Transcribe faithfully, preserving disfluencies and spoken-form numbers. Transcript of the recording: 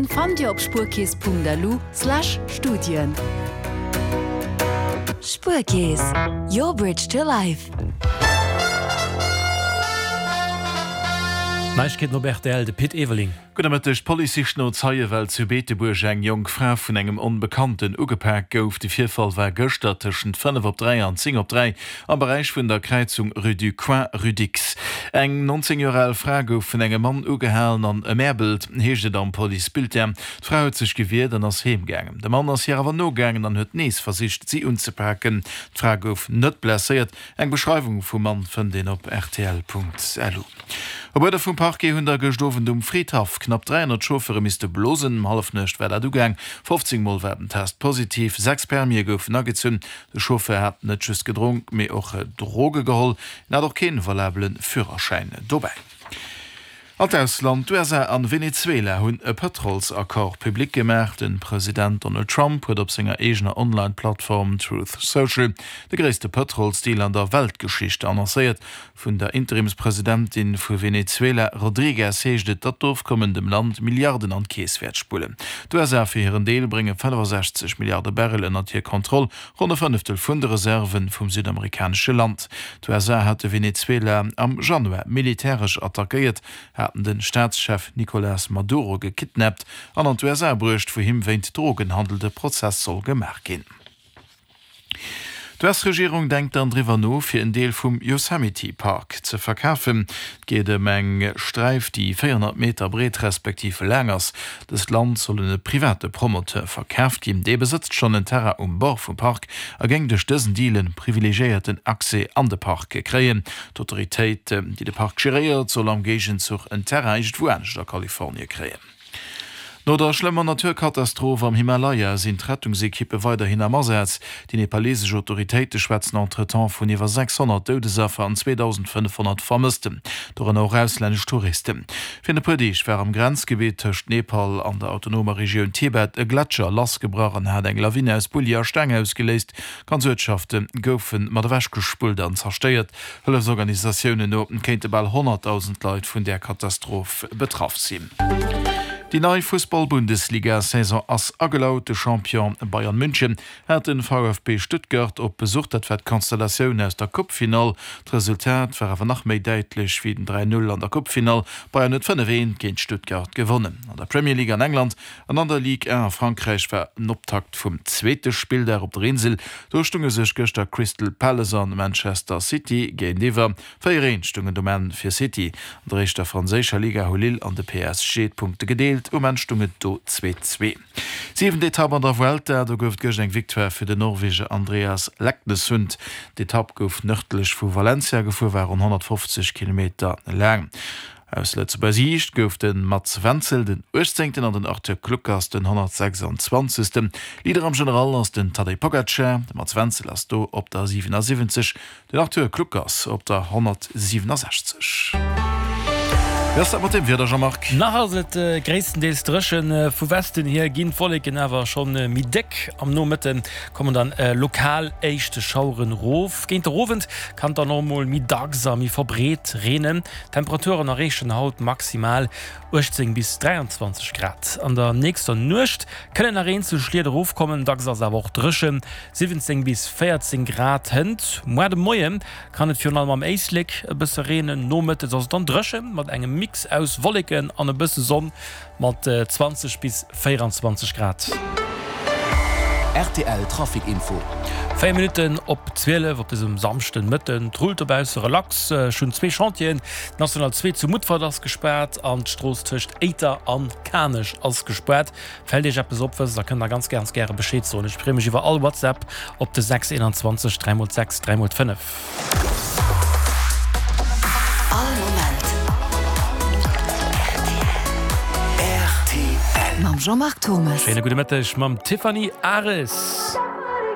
fannt Dir op spuerkeess.lu slash Studien. Spuerkeess, your bridge to life. Neiegkeeten op rtl, de Pit Everling. Gudde Mëtteg, D'Police sicht no Zeie well zu Beetebuerg eng jonk Fra vun engem Onbekannten ugepak gouf. De Virfall war gëschter tëschent fënnef op dräi an zéng op dräi am Beräich vun der Kräizung Rue du Coin, Rue Dicks. Eng nonzéng Joer al Fra gouf vun engem Mann ugehalen an ëmäerbelt, heescht et am Policebulletin. D'Fra huet sech gewiert an ass heem gaangen. De Mann ass hir awer nogaangen an huet nees versicht, si unzepaken. D'Fra gouf net blesséiert. Eng Beschreiwung vum Mann fënnt een op rtl.lu. Op Uerder vum Parquet hunn der gëscht Owend um Fridhaff knapp dräihonnert Chauffeure misste blosen. Um Hallefnuecht war dat ugaang. fofzéng Mol war den Test positiv, sechs Permise goufen agezunn. De Chauffeur hat net just gedronk, mee och Droge geholl. Hien hat och keen valabele Führerschäin dobäi. An d'Ausland, D'USA an Venezuela hunn e Pëtrolsaccord public gemaach. De President Donald Trump huet op senger eegener Online-Plattform Truth Social de gréisste Pëtrolsdeal an der Weltgeschicht annoncéiert. Vun der Interimspresidentin vu Venezuela Rodriguez heescht et, datt d'Ofkommen dem Land Milliarden an d'Keess wäert spullen. D'USA fir hiren Deel brénge fënnefasechzeg Milliarde Barrel ënnert hir Kontroll, ronn e Fënneftel vun de Reserve vum südamerikanesche Land. D'USA hate Venezuela am Januar militäresch attackéiert, haten de Staatschef Nicolás Maduro gekidnappt an an d'USA bruecht, wou him wéint Drogenhandel de Prozess soll gemaach ginn. D'US-Regierung denkt dann driwwer no, fir en Deel vum Yosemite Park ze verkafen. Et geet ëm eng Sträif, déi véierhonnert Meter breet respektiv laang ass. Dëst Land soll un e private Promoteur verkaaft ginn. Dee besëtzt schonn en Terrain um Bord vum Park a géing duerch dësen Deal e privilegiéierten Accès an de Park kréien. D'Autoritéit, déi de Park geréiert, soll am Géigenzuch en Terrain iergendwou anescht a Kalifornie kréien. No der schlëmmer Naturkatastroph am Himalaya sinn d'Rettungsekippe weiderhin am Asaz. Déi nepalesesch Autoritéite schwätzen entretemps vun iwwer sechshonnert Doudesaffer an zweedausendfënnefhonnert Vermëssten, dorënner och auslännesch Touristen. Virun e puer Deeg war am Grenzgebitt tëscht Nepal an der autonomer Regioun Tibet e Gletscher lassgebrach an hat eng Lawine aus Bulli a Steng ausgeléist. Ganz Uertschafte goufe mat ewechgespullt an zerstéiert. Hëllefsorganisatiounen no kéinte bal honnertdausend Leit vun där Katastroph betraff sinn. Déi nei Fussball-Bundesliga-Saison ass agelaut. De Champion Bayern München hat de V F B Stuttgart op Besuch. Dat war d'Konstellatioun aus der Coupefinall. D'Resultat war awer nach méi däitlech wéi den dräi Null an der Coupefinall. Bayern huet fënnef eent géint Stuttgart gewonnen. An der Premier League an England an an der Ligue un a Frankräich war den Optakt vum zweete Spilldag op der Insel. Do stunge sech gëschter Crystal Palace an Manchester City géintiwwer. Véier eent stoung et um Enn fir City. An der éischter franséischer Liga hu Lille an de P S G d'Punkte gedeelt. Um Enn stoung et do zwee zwee. Siwent Etapp an der Vuelta, do gouf et gëscht eng Victoire fir den Norweger Andreas Leknessund. D'Etapp gouf nërdlech vu Valencia gefuer, war ronn honnertfofzeg Kilometer laang. Aus Lëtzebuerger Siicht gouf de Mats Wenzel den uechtzéngten an den Arthur Kluckers den honnertsechsanzwanzegsten. Leader am General ass den Tadej Pogacar. De Mats Wenzel ass do op der siwenasiwwenzeg, den Arthur Kluckers op der honnertsiwenasechzeg. Wéi ass dat mat dem Wieder, Jean-Marc? Nach ass et gréisstendeels dréchen. Vu Westen hier ginn d'Wolleken awer schonn méi déck. Am Nomëtte kommen dann lokal éischt Schaueren rof. Géint der Owend kann et dann och mol méi dacks a méi verbreet reenen. D'Temperaturen erreechen haut maximal uechtzéng bis dräianzwanzeg Grad. An der nächster Nuecht kënnen nach eenzel Schliet erofkommen, dacks ass awer och dréchen, siwwenzéng bis véierzéng Grad. Hënt muar de Moie kann et virun allem am Éislek e bësse reenen, nomëttes ass et dann dréchen mat engem Mix aus Wolleken an e bësse Sonn mat zwanzeg bis véieranzwanzeg Grad. Rtl Trafic Info. Véier Minutten op zwielef op dësem Samschden Mëtten. Et rullt dobausse relax. Ech hunn zwee Chantieren. D'National zwee zu Mutfert ass gespaart an d'Strooss tëscht Éiter an Kanech ass gespaart. Fält Iech eppes op, wësst der, kënnt der ganz ganz gäre Bescheed soen. Ech freeë mech iwwer all WhatsApp op de sechs eenanzwanzeg dräi mol sechs dräi mol fënnef. All Moment rtl. Mam Jean-Marc Thomes. Schéine gudde Mëtteg mam Tiffany Aris.